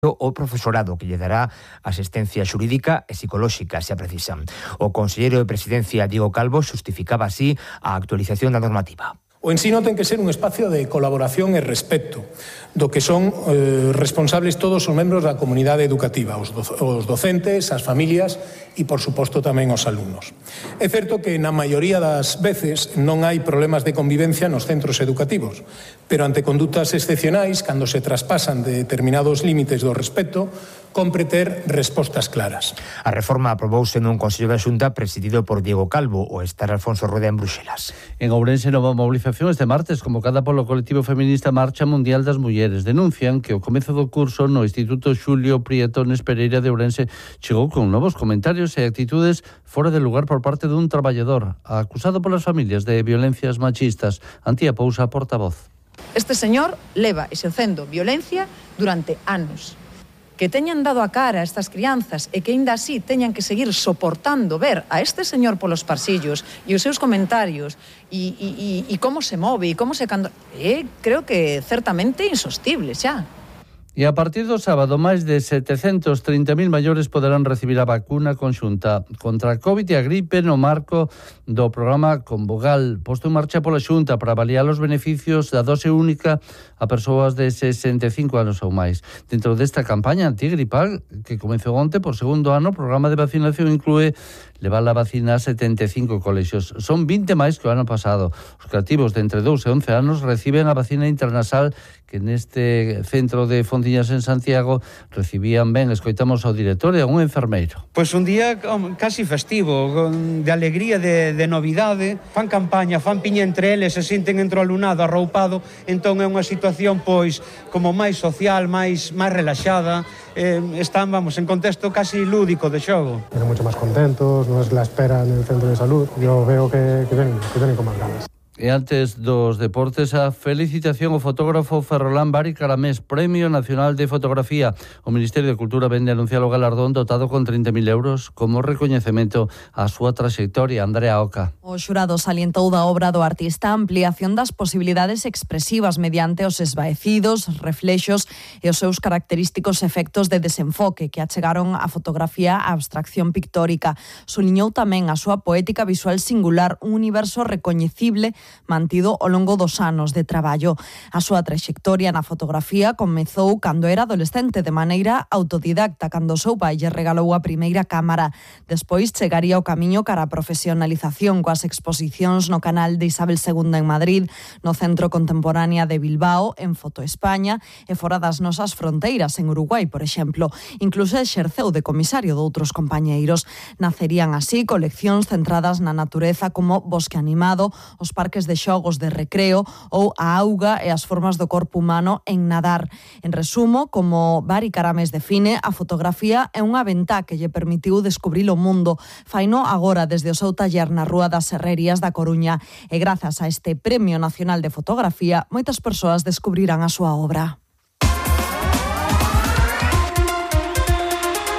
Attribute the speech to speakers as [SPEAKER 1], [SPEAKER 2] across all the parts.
[SPEAKER 1] o profesorado que lle dará asistencia xurídica e psicolóxica, se a precisan. O conselleiro de Presidencia, Diego Calvo, xustificaba así a actualización da normativa.
[SPEAKER 2] O ensino ten que ser un espacio de colaboración e respecto, do que son responsables todos os membros da comunidade educativa, os docentes, as familias e, por suposto, tamén os alumnos. É certo que na maioría das veces non hai problemas de convivencia nos centros educativos, pero ante condutas excepcionais, cando se traspasan de determinados límites do respecto, compre ter respostas claras.
[SPEAKER 1] A reforma aprobouse nun Consello da Xunta presidido por Diego Calvo o estar Alfonso Rueda en Bruxelas.
[SPEAKER 3] En Ourense, nova movilización este martes convocada polo colectivo feminista Marcha Mundial das Mulleres. Denuncian que o comezo do curso no Instituto Xulio Prietones Pereira de Ourense chegou con novos comentarios e actitudes fora de lugar por parte dun traballador acusado polas familias de violencias machistas. Antía Pousa, portavoz.
[SPEAKER 4] Este señor leva exercendo violencia durante anos. Que teñan dado a cara a estas crianzas e que aínda así teñan que seguir soportando ver a este señor polos pasillos e os seus comentarios e como se move e como se creo que certamente insostible xa.
[SPEAKER 3] E a partir do sábado, máis de 730.000 maiores poderán recibir a vacuna conxunta contra a COVID e a gripe no marco do programa Convogal, posto en marcha pola Xunta para avaliar os beneficios da dose única a persoas de 65 anos ou máis. Dentro desta campaña antigripal, que comezou onte por segundo ano, o programa de vacinación inclúe levar a vacina a 75 colexios. Son 20 máis que o ano pasado. Os cativos de entre 2 e 11 anos reciben a vacina intranasal que neste centro de Fonciñas en Santiago recibían ben. Escoitamos ao director e a un enfermeiro.
[SPEAKER 5] Pois un día casi festivo, de alegría, de novidade. Fan campaña, fan piña entre eles, se sinten entre o alumnado arroupado, entón é unha situación pois como máis social, máis relaxada. Están, en contexto casi lúdico de xogo.
[SPEAKER 6] Pero mucho más contentos, no es la espera en el centro de salud. Yo veo que vienen con más ganas.
[SPEAKER 3] E antes dos deportes, a felicitación ao fotógrafo Ferrolán Bari Caramés, Premio Nacional de Fotografía. O Ministerio de Cultura vende anunciar o galardón dotado con 30.000 euros como recoñecemento á súa traxectoria. Andrea Oca.
[SPEAKER 7] O xurado salientou da obra do artista a ampliación das posibilidades expresivas mediante os esvaecidos, reflexos e os seus característicos efectos de desenfoque que achegaron a fotografía a abstracción pictórica. Suliñou tamén a súa poética visual singular, un universo recoñecible mantido ao longo dos anos de traballo. A súa traxectoria na fotografía comezou cando era adolescente de maneira autodidacta, cando o seu pai lle regalou a primeira cámara. Despois chegaría o camiño cara a profesionalización coas exposicións no canal de Isabel II en Madrid, no Centro Contemporánea de Bilbao, en Foto España e fora das nosas fronteiras, en Uruguai, por exemplo. Incluso exerceu de comisario doutros compañeiros. Nacerían así coleccións centradas na natureza como Bosque Animado, os parques de xogos de recreo ou a auga e as formas do corpo humano en nadar. En resumo, como Bari Caramés define, a fotografía é unha ventá que lle permitiu descubrir o mundo. Faino agora desde o seu taller na Rúa das Herrerías da Coruña e grazas a este Premio Nacional de Fotografía, moitas persoas descubrirán a súa obra.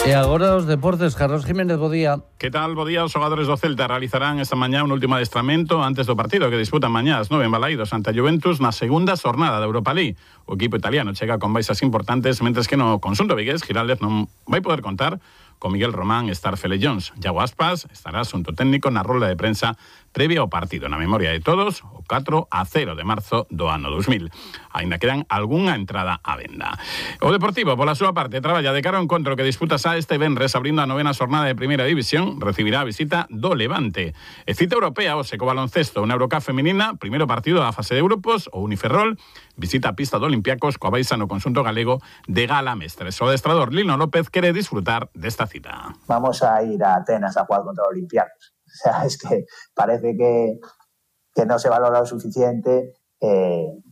[SPEAKER 3] E agora os deportes, Carlos Jiménez, bo día.
[SPEAKER 8] Que tal, bo día? Os xogadores do Celta realizarán esta mañá un último adestramento antes do partido que disputan mañá ás 9 en Balaídos ante a Juventus na segunda xornada da Europa League. O equipo italiano chega con baixas importantes, mentres que no conxunto vigués Giraldez non vai poder contar con Miguel Román e Starfele Jones. Iago Aspas estará xunto técnico na rolda de prensa previa ao partido. Na memoria de todos, o 4-0 de marzo do ano 2000. Ainda quedan algunha entrada á venda. O Deportivo, pola súa parte, traballa de cara ao encontro que disputa este venres abrindo a novena xornada de Primeira División, recibirá a visita do Levante. E cita europea, o Seco Baloncesto, unha Eurocup feminina, primeiro partido da fase de grupos, o Uniferrol, visita a pista do Olympiacos coa baixa no conxunto galego de Gala Mestres. O adestrador Lino López quere disfrutar desta cita.
[SPEAKER 9] Vamos a ir a Atenas a jugar contra Olympiacos. O sea, es que parece que no se valora lo suficiente.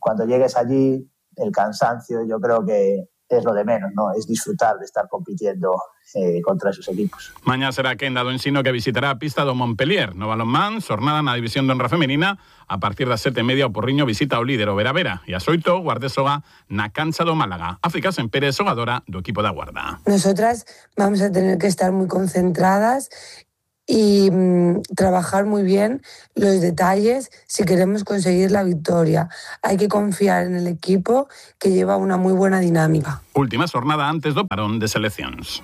[SPEAKER 9] Cuando llegues allí, el cansancio yo creo que es lo de menos, ¿no? Es disfrutar de estar compitiendo contra esos equipos.
[SPEAKER 8] Mañá será Quenda do Ensino que visitará a pista do Montpellier. No balonmán, xornada na división de honra femenina, a partir das 7:30 o Porriño visita o líder o Vera, e ás 8 Guardesoga na cancha do Málaga. África Sempere, xogadora do equipo da Guarda.
[SPEAKER 10] Nosotras vamos a tener que estar muy concentradas y trabajar muy bien los detalles si queremos conseguir la victoria. Hay que confiar en el equipo que lleva una muy buena dinámica.
[SPEAKER 8] Última jornada antes do parón de seleccións.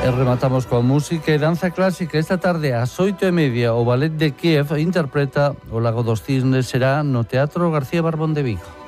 [SPEAKER 3] E rematamos coa música e danza clásica. Esta tarde ás 8:30 o Ballet de Kiev interpreta O Lago dos Cisnes, será no Teatro García Barbón de Vigo.